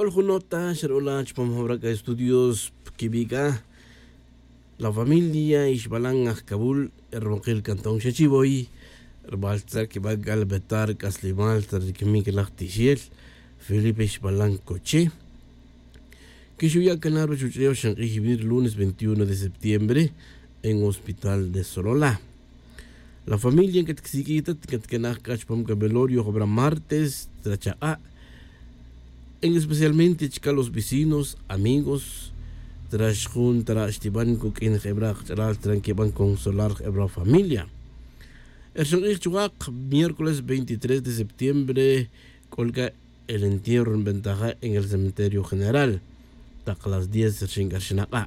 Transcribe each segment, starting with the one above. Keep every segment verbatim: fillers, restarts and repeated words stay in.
Jun nota xer'ola chupam jawra k'a estudios pkibi' k'a la familia ixbalan ajkabul, erwonqil cantón xechivoy, rmal tzar kiba' k'a lbetar k'aslimal tzar rikimik laj tixel felipe ixbalan coche. Kixuya' canar ruchuch'ew xenk'ij vir lunes veintiuno de septiembre en hospital de solola. La familia nk'at ksik'ij ta nk'at kenaj k'a chupam k'a velorio jabra martes trachaq'a', en especialmente chka los vecinos, amigos, trax jun tra' xtiban kuk'in jebra' qach'alal tra nkiban consolar jebra' familia. Erxan q'ij chuwaq miércoles veintitrés de septiembre k'ol k'a el entierro nbentaja en el cementerio general. Taq las diez rxin k'a rxinaq'a'.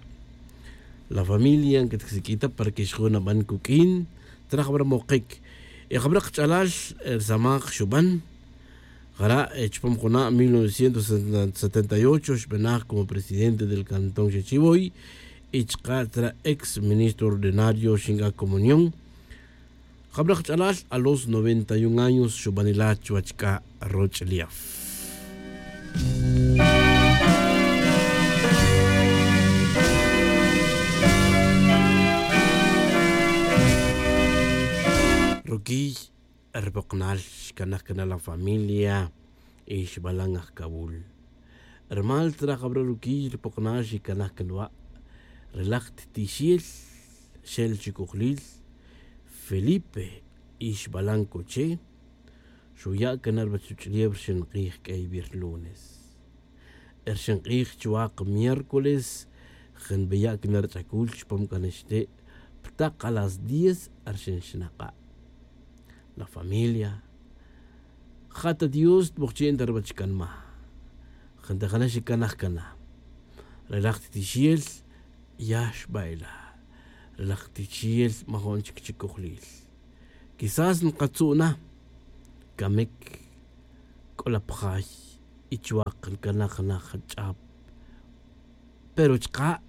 La familia nk'at ksik'ij ta para que xjun naban kuk'in traj jabra' moqik. Y jabra' qach'alal rsamaj xuban jara' chupam juna' mil novecientos setenta y ocho xbenaj como presidente del cantón xechivoy. Y chka' tzra' ex ministro ordinario xink'a comunión. Jabra' qach'alal a los noventa y un años xubanila' chuwach k'a roch'lef. Rukiy rpoqnal xkanaj kana' la familia ixbalan ajkawul. Rmal tzra jabra' rukiy rpoqnal xikanaj kana' wa' relaj ttixel xel chikojlil felipe ixbalan coche. Xuya' kana' rbachuch'lef rxin q'ij k'ey vir lunes. Rxin q'ij chuwaq miércoles jin beya' kana' rch'akul chupam k'ana xte' ptaq a las diez rxin xnaq'a'. La familia ja' ta dios tbojchi'n ta rbach kanma. Jin ta jana xikanaj kana' relaj ttixel ya xba'ila'. Relaj ttixel majo'n chik chikojlil quizás nkatzu' na kamik k'ola pjay y chuwaq nkanaj naj ch'ap. Pero chka'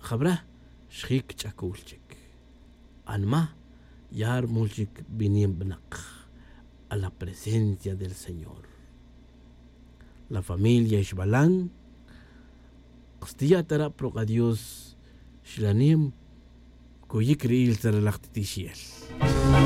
jabra' xjic ch'acul chic anma ya rmul chic binin bnak a la presencia del señor. La familia ixbalan kstiya' ta ra' prok'a dios xlanem. Kuyic ri'il ta relaj titixel.